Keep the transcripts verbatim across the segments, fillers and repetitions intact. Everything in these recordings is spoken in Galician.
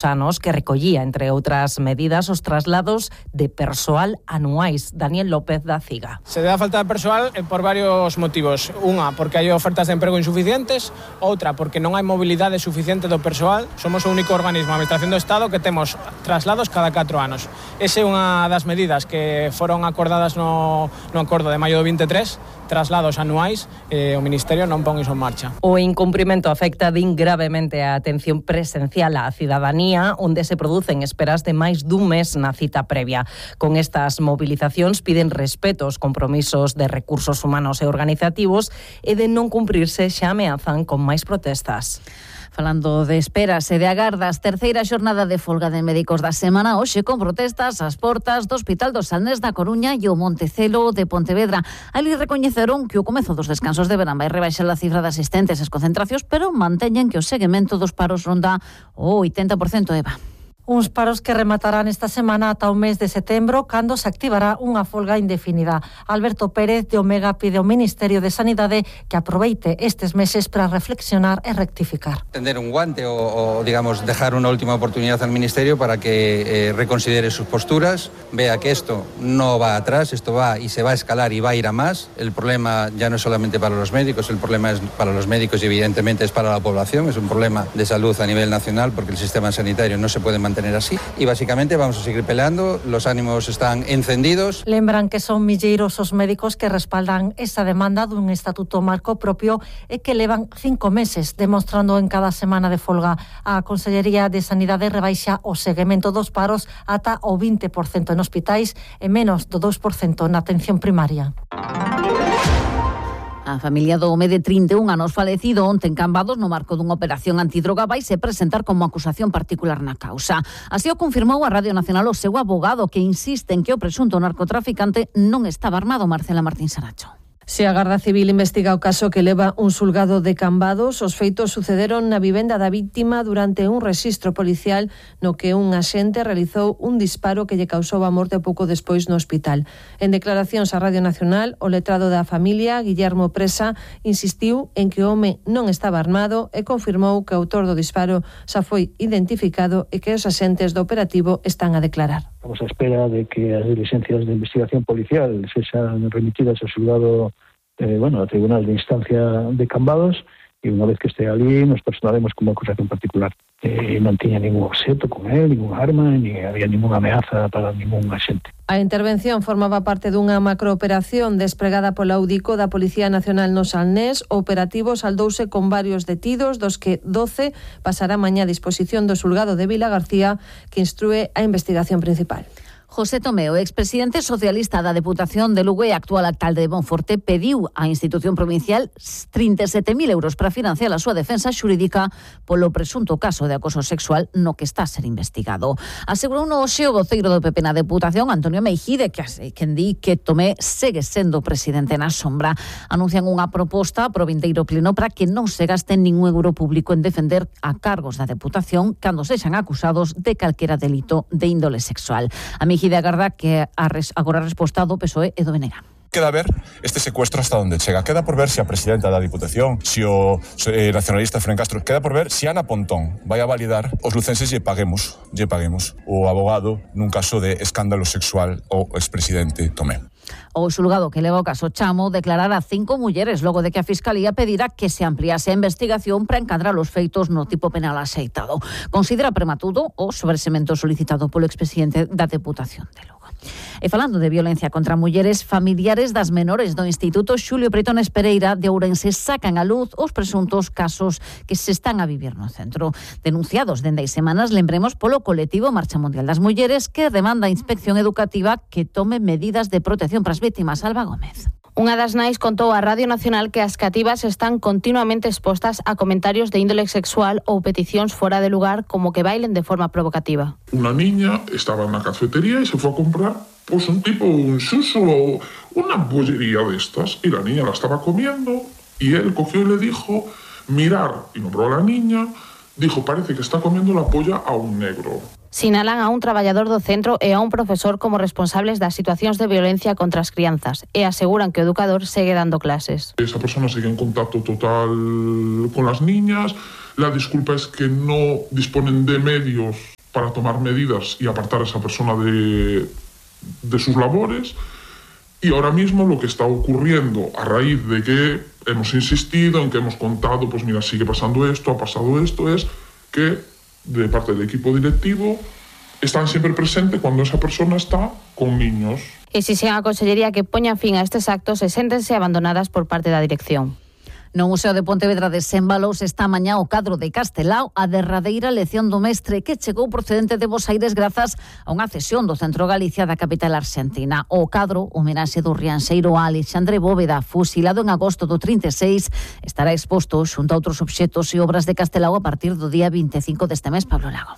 anos que recollía, entre outras medidas, os traslados de persoal anuais. Daniel López da CIGA. Se dá falta de persoal por varios motivos. Unha, porque hai ofertas de emprego insuficientes. Outra, porque non hai mobilidade suficiente do persoal. Somos o único organismo da Administración do Estado que temos traslados cada catro anos. Esa é unha das medidas que foron acordadas no, no acordo de maio do veintitrés, traslados anuais, e o Ministerio non pon iso en marcha. O incumprimento afecta din gravemente a atención presencial á cidadanía, onde se producen esperas de máis dun mes na cita previa. Con estas movilizacións piden respeto aos compromisos de recursos humanos e organizativos e de non cumprirse xa ameazan con máis protestas. Falando de esperas e de agardas, terceira xornada de folga de médicos da semana, hoxe con protestas ás portas do Hospital do Salnés da Coruña e o Montecelo de Pontevedra. Ali recoñeceron que o comezo dos descansos de verán vai rebaixar a cifra de asistentes ás concentracións, pero manteñen que o seguimento dos paros ronda o oitenta por cento, Eva. Uns paros que rematarán esta semana ata o mes de setembro, cando se activará unha folga indefinida. Alberto Pérez de Omega pide ao Ministerio de Sanidade que aproveite estes meses para reflexionar e rectificar. Tender un guante o, o digamos, dejar unha última oportunidad al Ministerio para que eh, reconsidere sus posturas, vea que esto no va atrás, esto va y se va a escalar y va a ir a más. El problema ya no es solamente para los médicos, el problema es para los médicos y evidentemente es para la población, es un problema de salud a nivel nacional porque el sistema sanitario no se puede mantener tener así y básicamente vamos a seguir peleando, los ánimos están encendidos. Lembran que son milleiros os médicos que respaldan esa demanda dun estatuto marco propio e que levan cinco meses demostrando en cada semana de folga. A Consellería de Sanidade rebaixa o seguimento dos paros ata o vinte por cento en hospitais e menos do dous por cento na atención primaria. A familia do home de trinta e un anos falecido onte en Cambados no marco dunha operación antidroga vai se presentar como acusación particular na causa. Así o confirmou a Radio Nacional o seu abogado, que insiste en que o presunto narcotraficante non estaba armado. Marcela Martín Saracho. Se a Garda Civil investiga o caso que leva un xulgado de Cambados, os feitos sucederon na vivenda da víctima durante un rexistro policial no que un axente realizou un disparo que lle causou a morte pouco despois no hospital. En declaracións á Radio Nacional, o letrado da familia, Guillermo Presa, insistiu en que o home non estaba armado e confirmou que o autor do disparo xa foi identificado e que os axentes do operativo están a declarar. Estamos a espera de que as diligencias de investigación policial sexan remitidas ao xulgado eh, bueno, ao Tribunal de Instancia de Cambados e unha vez que este ali nos personaremos como acusación particular. Eh, non tiña ningún obxeto con él, ningún arma, ni había ninguna ameaza para ningún axente. A intervención formaba parte dunha macrooperación despregada pola Audico da Policía Nacional no Salnés. O operativo saldouse con varios detidos, dos que doce pasará mañá a disposición do xulgado de Vila García, que instrúe a investigación principal. José Tomeo, expresidente socialista da Deputación de Lugo e actual alcalde de Monforte, pediu á institución provincial trinta e sete mil euros para financiar a súa defensa xurídica polo presunto caso de acoso sexual no que está a ser investigado. Asegurou no hoxe o voceiro do P P na Deputación, Antonio Meijide, que quen di que Tomé segue sendo presidente na sombra. Anuncian unha proposta pro vindeiro pleno para que non se gaste ningún euro público en defender a cargos da Deputación cando sexan acusados de calquera delito de índole sexual. A Meijide agarda que agora a resposta do P S O E e do B N G. Queda ver este secuestro hasta onde chega. Queda por ver se a presidenta da Diputación, se o eh, nacionalista Fren Castro, queda por ver se Ana Pontón vai a validar os lucenses lle paguemos, lle paguemos o abogado nun caso de escándalo sexual ao expresidente Tomé. O xulgado que leva o caso Chamo declarará cinco mulleres logo de que a Fiscalía pedirá que se ampliase a investigación para encadrar os feitos no tipo penal axeitado. Considera prematuro o sobresemento solicitado polo expresidente da Deputación de Lugo. E falando de violencia contra mulleres, familiares das menores do Instituto Xulio Preitones Pereira de Ourense sacan a luz os presuntos casos que se están a vivir no centro. Denunciados dende hai semanas, lembremos, polo colectivo Marcha Mundial das Mulleres, que demanda a Inspección Educativa que tome medidas de protección para as vítimas. Alba Gómez. Unha das nais contou a Radio Nacional que as cativas están continuamente expostas a comentarios de índole sexual ou peticións fora de lugar, como que bailen de forma provocativa. Una niña estaba na cafetería e se foi a comprar pues, un tipo, un suso ou unha bollería de estas, e la niña la estaba comiendo e él cogió y le dijo mirar, y nombró a la niña, dijo parece que está comiendo la polla a un negro. Sinalan a un traballador do centro e a un profesor como responsables das situacións de violencia contra as crianzas e aseguran que o educador segue dando clases. Esa persona sigue en contacto total con las niñas, La disculpa es que no disponen de medios para tomar medidas y apartar a esa persona de, de sus labores. Y ahora mismo lo que está ocurriendo a raíz de que hemos insistido, en que hemos contado, pues mira, sigue pasando esto, ha pasado esto, es que de parte del equipo directivo están siempre presentes cuando esa persona está con niños. Exigen a Consellería que poña fin a estes actos e séntense abandonadas por parte da dirección. No Museo de Pontevedra desenvalouse esta mañá o cadro de Castelao, a derradeira lección do mestre que chegou procedente de Bos Aires grazas a unha cesión do Centro Galicia da capital arxentina. O cadro, homenaxe do rianxeiro a Alexandre Bóveda, fusilado en agosto do trinta e seis, estará exposto xunto a outros obxetos e obras de Castelao a partir do día vinte e cinco deste mes. Pablo Lago.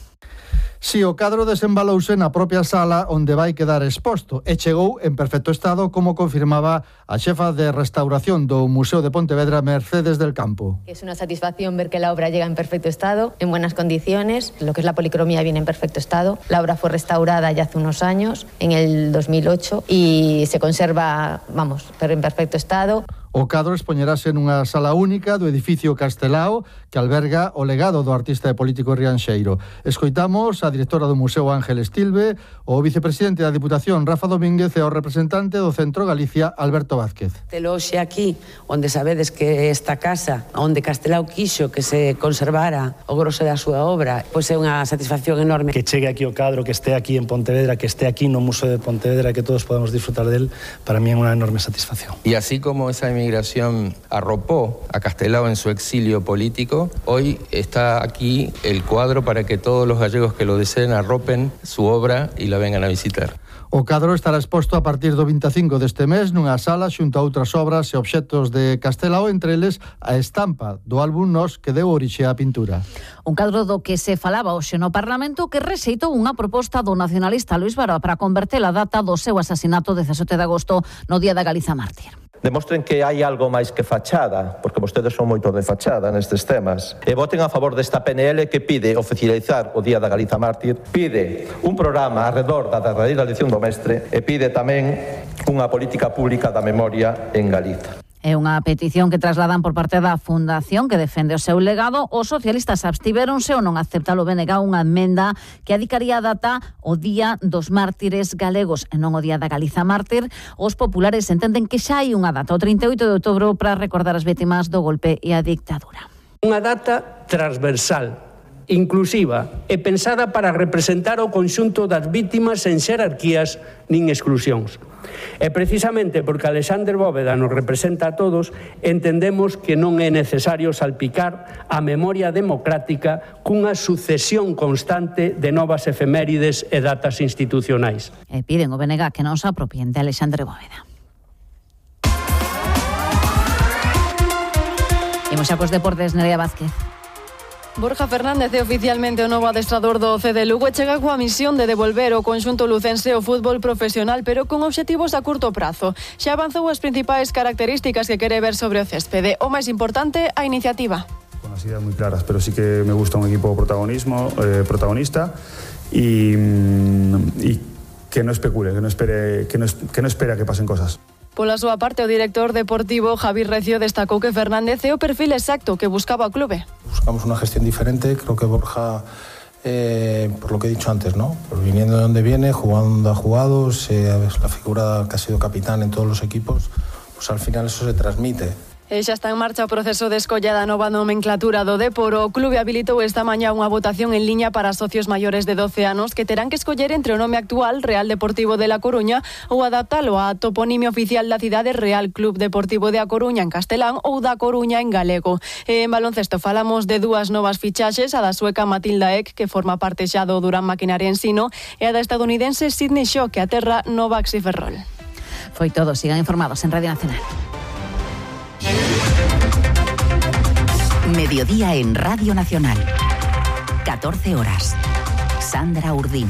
Si, o cadro desembalouse na propia sala onde vai quedar exposto e chegou en perfecto estado, como confirmaba a xefa de restauración do Museo de Pontevedra, Mercedes del Campo. Es una satisfacción ver que la obra llega en perfecto estado, en buenas condiciones. Lo que es la policromía viene en perfecto estado. La obra fue restaurada ya hace unos años, en el dos mil ocho, y se conserva, vamos, pero en perfecto estado. O cadro expoñerase nunha sala única do edificio Castelao que alberga o legado do artista e político rianxeiro. Escoitamos a directora do Museo Ángel Estilbe, o vicepresidente da Diputación Rafa Domínguez e o representante do Centro Galicia Alberto Vázquez. Telo xe aquí, onde sabedes que esta casa, onde Castelao quixo que se conservara o grosso da súa obra, pois é unha satisfacción enorme. Que chegue aquí o cadro, que este aquí en Pontevedra, que este aquí no Museo de Pontevedra, que todos podemos disfrutar del, para mí é unha enorme satisfacción. Y así como esa migración arropó a Castelao en su exilio político, hoy está aquí el cuadro para que todos los gallegos que lo deseen arropen su obra y la vengan a visitar. O cadro estará exposto a partir do vinte e cinco deste mes nunha sala xunto a outras obras e obxetos de Castelao, entre eles a estampa do álbum Nos que deu orixe á pintura. Un cadro do que se falaba hoxe no Parlamento que rexeitou unha proposta do nacionalista Luís Baró para converter a data do seu asasinato dezasete de agosto no Día da Galiza Mártir. Demostren que hai algo máis que fachada, porque vostedes son moito de fachada nestes temas, e voten a favor desta P N L que pide oficializar o Día da Galiza Mártir, pide un programa arredor da derradeira lección do mestre e pide tamén unha política pública da memoria en Galiza. É unha petición que trasladan por parte da Fundación que defende o seu legado. Os socialistas abstiveronse ou non aceptalo B N G unha emenda que adicaría a data o Día dos Mártires Galegos e non o Día da Galiza Mártir. Os populares entenden que xa hai unha data, o trinta e oito de outubro, para recordar as vítimas do golpe e a dictadura. Unha data transversal, inclusiva e pensada para representar o conxunto das vítimas sen xerarquías nin exclusións. E precisamente porque Alexandre Bóveda nos representa a todos, entendemos que non é necesario salpicar a memoria democrática cunha sucesión constante de novas efemérides e datas institucionais. E piden o B N G que non se apropien de Alexandre Bóveda. Imos xa cos deportes, Nerea Vázquez. Borja Fernández é oficialmente o novo adestrador do C D Lugo e chega coa misión de devolver o conxunto lucense ao fútbol profesional, pero con obxectivos a curto prazo. Xa avanzou as principais características que quere ver sobre o céspede. O máis importante, a iniciativa. Con as ideas moi claras, pero sí que me gusta un equipo protagonismo, eh, protagonista y, y que no especule, que no espere, que no, que no espera que pasen cosas. Pola súa parte, o director deportivo Javi Recio destacou que Fernández é o perfil exacto que buscaba o clube. Buscamos una gestión diferente, creo que Borja, eh, por lo que he dicho antes, ¿no? Pues viniendo de donde viene, jugando donde ha jugado, se, la figura que ha sido capitán en todos los equipos, pues al final eso se transmite. E xa está en marcha o proceso de escolla da nova nomenclatura do Depor. O clube habilitou esta mañá unha votación en liña para socios maiores de doce anos que terán que escoller entre o nome actual Real Deportivo de La Coruña ou adaptalo á toponimia oficial da cidade Real Club Deportivo de A Coruña en castelán ou da Coruña en galego. E en baloncesto falamos de dúas novas fichaxes, a da sueca Matilda Ek, que forma parte xa do Durán Maquinaria Ensino, e a da estadounidense Sydney Shaw, que aterra no Baxi Ferrol. Foi todo, sigan informados en Radio Nacional. Mediodía en Radio Nacional. catorce horas. Sandra Urdín.